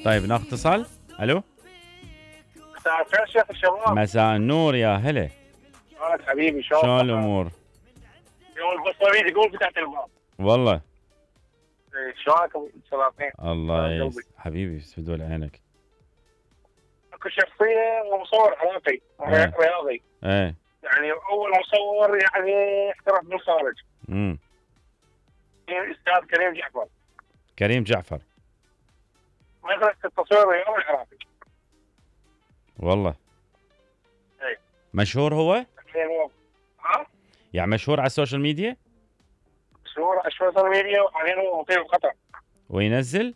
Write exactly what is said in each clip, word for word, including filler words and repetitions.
طيب ناخذ اتصال. الو مساء الخير شيخ الشباب. مساء النور يا هلا. شلونك حبيبي؟ شلون شلون الامور؟ يوم البصري يقول فتحت الباب. والله إيه، شلونك ابو سلاطين؟ الله شلون يس... قلبي؟ حبيبي يسعد عينك. اكو شخصيه ومصور عراقي إيه. رياضي، ايه يعني اول مصور يعني احترف بالخارج، امم الاستاذ كريم جعفر، كريم جعفر. مدرسه التصوير الرياضي العراقي. والله ايه مشهور هو؟ يعني هو ها يعني مشهور على السوشيال ميديا صور على السوشيال ميديا، وحاليا هو مقيم بقطر. وينزل؟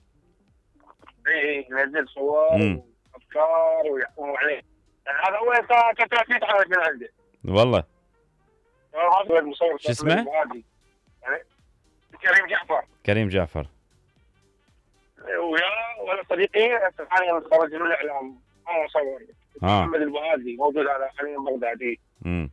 اي ينزل صور مم. وافكار ويحكموا عليه، يعني هذا اول انسان كنت اتعرف من عنده. والله هذا المصور شو اسمه؟ يعني كريم جعفر. كريم جعفر. ويا ولا صديقي حاليا خرج من الاعلام، هو مصور. اه محمد البهادي موجود على حاليا بغدادي. امم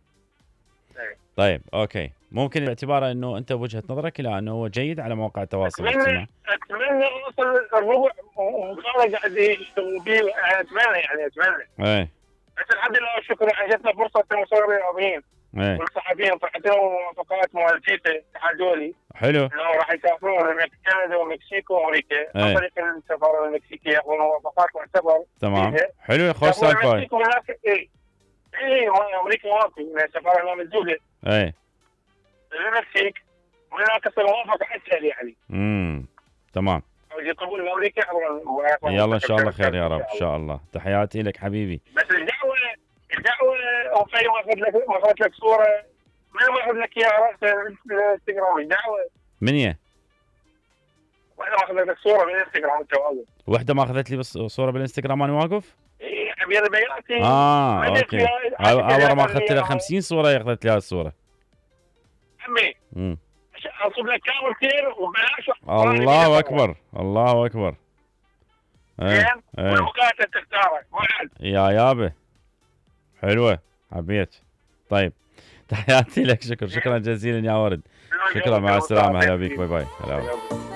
إيه. طيب اوكي، ممكن باعتباره انه انت بوجهه نظرك الى انه هو جيد على مواقع التواصل الاجتماعي. اتمنى اتمنى اوصل الربع وكان قاعد يشتغل بيه، اتمنى يعني اتمنى. ايه بس الحمد لله والشكر يعني جتنا فرصه كمصورين رياضيين ايه والصحفيين، طلعت لهم موافقات مال فيفا الاتحاد الدولي حلو. انهم راح يسافرون كندا ومكسيك وامريكا عن طريق السفاره المكسيكيه، ياخذون موافقات معتبر. تمام فيها. حلو يا خوش سالفه. اي اي امريكا واقف السفاره هنا موجوده. ايه المكسيك وهناك تصير موافقه اسهل يعني. امم تمام. يطلبون من امريكا عبر. يلا ان شاء الله خير يا رب ان شاء الله. تحياتي لك حبيبي. بس الدعوه الدعوه او في ما اخذ لك ما اخذ لك صوره، من ما اخذ لك اياها راس الانستغرام الدعوه. من هي؟ واحده ما اخذ لك صوره بالانستغرام انت واقف. وحده ما اخذت لي بس صوره بالانستغرام وانا واقف؟ اي ابي بياتي. اه اوكي. اول ما اخذت لها خمسين صوره اخذت لي هاي الصوره. عمي امم اصب لك كامل كثير وبلاش. الله اكبر الله اكبر. زين ايه والوقت تختاره ما حد. يا يابا حلوه حبيت. طيب تحياتي لك. شكرا شكرا جزيلا يا ورد. شكرا مع السلامه. هلا بيك باي باي. هلا.